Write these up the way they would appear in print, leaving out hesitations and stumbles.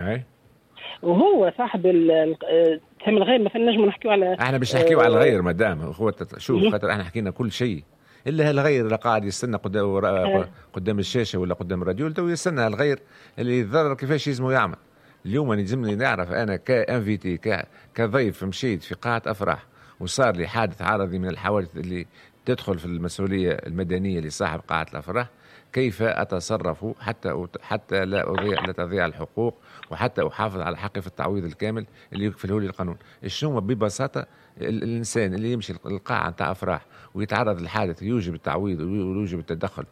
اي. وهو صاحب تهم الغير، مثلا نجم نحكيو على احنا باش نحكيو على الغير مدام هو شوف، خاطر احنا حكينا كل شيء الا الغير اللي قاعد يستنى قدام الشاشة ولا قدام الراديو، تو يستنى الغير اللي يتضرر كيفاش يلزمو يعمل. اليوم يلزمني نعرف انا ك invité، كضيف مشيت في قاعة افراح وصار لي حادث عارضي من الحوادث اللي تدخل في المسؤولية المدنية لصاحب قاعة الافراح، كيف اتصرف حتى لا تضيع الحقوق وحتى احافظ على حقي في التعويض الكامل اللي يكفله لي القانون؟ شنو ببساطة الانسان اللي يمشي القاعة نتاع افراح ويتعرض لحادث يوجب التعويض ويوجب التدخل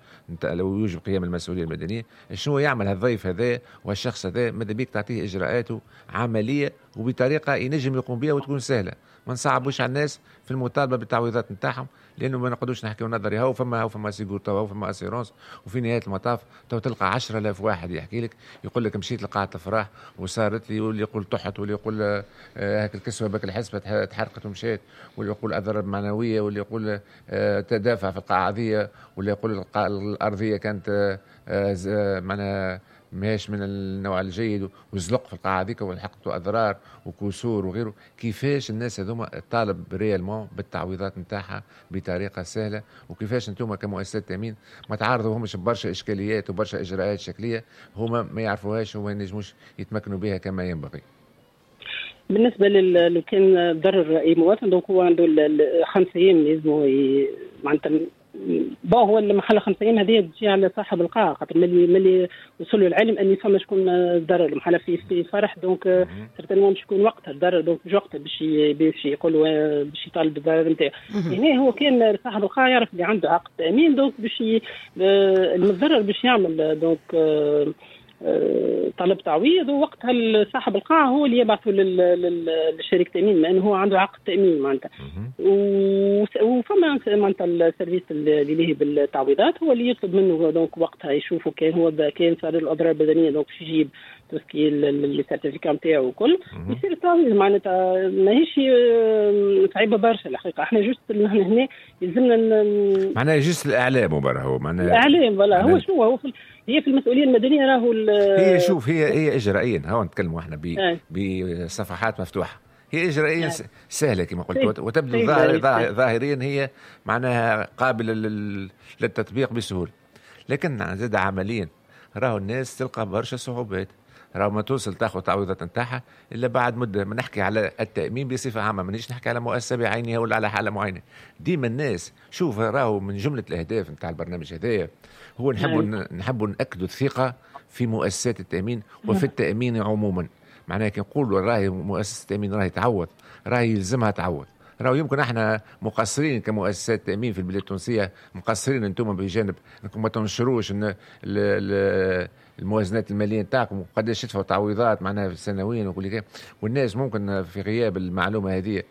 لو يوجب قيام المسؤولية المدنيه، شنو يعمل هالضيف هذا والشخص هذا؟ ماذا بيك تعطيه اجراءاته عملية وبطريقة ينجم يقوم بها وتكون سهله، ما نصعبوش على الناس في المطالبة بالتعويضات نتاعهم، لانه ما نقعدوش نحكيو نظري، هو فما sécu تو فما assurance، وفي نهاية المطاف تو تلقى 10,000 واحد يحكي لك، يقول لك مشيت لقاعه الافراح وصارت لي، واللي يقول طحت، واللي يقول هاك الكسوة بك الحسبة تحرقت ومشيت، واللي يقول اضرار معنويه، واللي يقول تدافع في القاعة هذه، واللي يقول الارضية كانت معناها ماهيش من النوع الجيد وزلق في القاعة هذيك ولحقت اضرار وكسور وغيره. كيفاش الناس هذوما تطالب réellement بالتعويضات نتاعها بطريقة سهله؟ وكيفاش انتم كمؤسسات تامين ما تعرضوهمش ببرشا اشكاليات وبرشا اجراءات شكلية هما ما يعرفوهاش وما ينجموش يتمكنوا بها كما ينبغي؟ بالنسبة لو كان ضرر اي مواطن، donc هو عنده 5 ايام يلزموا معناتها. bon، هو المحل 5 ايام هذه تجي على صاحب القاعه، خاطر ملي وصلوا العلم اني فما شكون ضرر المحل في فرح، donc certainement باش يكون وقتها ضرر، donc مش وقتها باش يقولوا باش يطالب بالضرر نتاعو. هنا هو كان صاحب القاعة يعرف اللي عنده عقد تامين، donc باش المتضرر باش يعمل donc طلب تعويض، ووقتها صاحب القاعة هو اللي يبعثه للشركة التامين، لانه هو عنده عقد تامين معناتها. وفما معناتها ال service اللي لاهي بالتعويضات هو اللي يطلب منه، donc وقتها يشوفوا كان هو كان صار الاضرار البدنيه، donc باش يجيب tout ce qui les certificats نتاعو وكل، يصير التعويض. معناتها ماهيش صعيبة برشا الحقيقه، احنا juste نحن هنا يلزمنا معناها juste الاعلام وبرا هو معناها الاعلام، voilà. هو شنو هو هي في المسؤولية المدنية راهو. هي شوف، هي اجرائيا، هو نتكلموا احنا بصفحات مفتوحه، هي اجرائيا سهلة كما قلت، وتبدو ظاهريا هي معناها قابله للتطبيق بسهوله، لكن زاد عمليا راهو الناس تلقى برشا صعوبات، راهو ما توصل تاخذ تعويضات نتاعها الا بعد مده. ما نحكي على التامين بصفة عامه، مانيش نحكي على مؤسسة بعينها ولا على حاله معينه. ديما الناس شوف، راهو من جملة الاهداف نتاع البرنامج هذايا هو نحبوا ناكدوا الثقة في مؤسسات التامين وفي التامين عموما. معناها كي نقولوا راهي مؤسسة التامين راهي تعوض، راهي يلزمها تعوض. راهو يمكن احنا مقصرين كمؤسسات تامين في البلاد التونسيه، مقصرين انتم بجانب انكم ما تنشروش الموازنات المالية نتاعكم وقداش تدفعوا تعويضات معناها سنويا وكل، والناس ممكن في غياب المعلومة هذه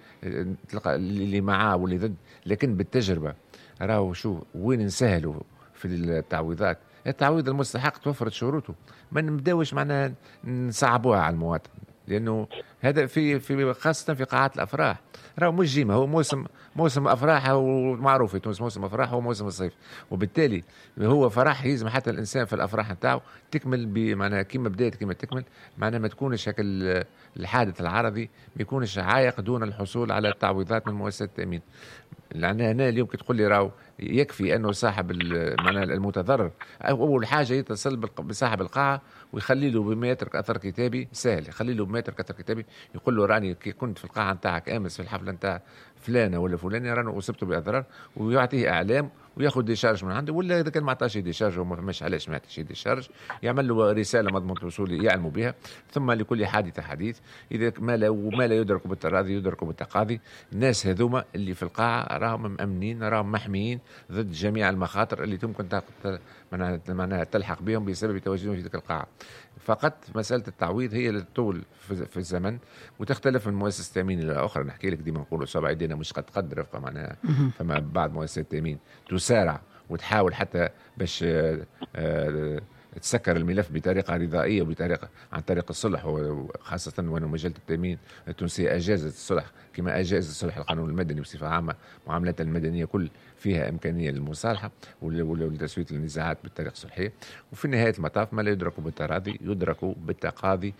تلقى اللي معاه واللي ضد. لكن بالتجربة راهو شو وين نسهلوا في التعويضات، التعويض المستحق توفرت شروطه، ما نبداوش معناها نصعبوها على المواطن، لانه هذا في خاصة في قاعات الافراح راهو مش ديما هو موسم افراح، ومعروف في تونس موسم افراح هو موسم الصيف، وبالتالي هو فرح يلزم حتى الانسان في الافراح نتاعو تكمل بمعناها كيما بدات كيما تكمل، معناها ما تكونش هكا الحادث العرضي ما يكونش عائق دون الحصول على التعويضات من مؤسسات التامين. لان هنا اليوم كي تقول لي راهو يكفي انه صاحب معناها المتضرر اول حاجة يتصل بصاحب القاعة ويخلي له بما يترك اثر كتابي، سهل، يخلي له بما يترك اثر كتابي، يقول له راني كي كنت في القاعة نتاعك امس في الحفلة نتاع فلانه ولا فلانه راني اصبت باضرار، ويعطيه اعلام وياخذ décharge من عنده، ولا اذا كان ما عطاش décharge وما فماش علاش ما يعطيش décharge، يعمل له رسالة مضمون الوصول يعلموا بها. ثم لكل حادثه حديث، اذا ما لا وما لا يدرك بالتراضي يدرك بالتقاضي. الناس هذوما اللي في القاعة راهم مأمنين، راهم محميين ضد جميع المخاطر اللي تمكن معناها تلحق بهم بسبب تواجدهم في تلك القاعه. فقط مسالة التعويض هي اللي تطول في الزمن وتختلف من مؤسسة تامين الى اخرى. نحكي لك ديما نقولوا صبع يدينا مش قد قد رفقه، معناها فما بعض مؤسسات التامين تسارع وتحاول حتى باش تسكر الملف بطريقة رضائيه وبطريقة عن طريق الصلح، وخاصة وأن مجلة التامين التونسية اجازت الصلح كما اجاز الصلح القانون المدني بصفة عامه. معاملات المدنية كل فيها امكانية للمصالحة ولتسوية النزاعات بالطريقة الصلحيه. وفي نهاية المطاف، ما لا يدرك بالتراضي يدرك بالتقاضي.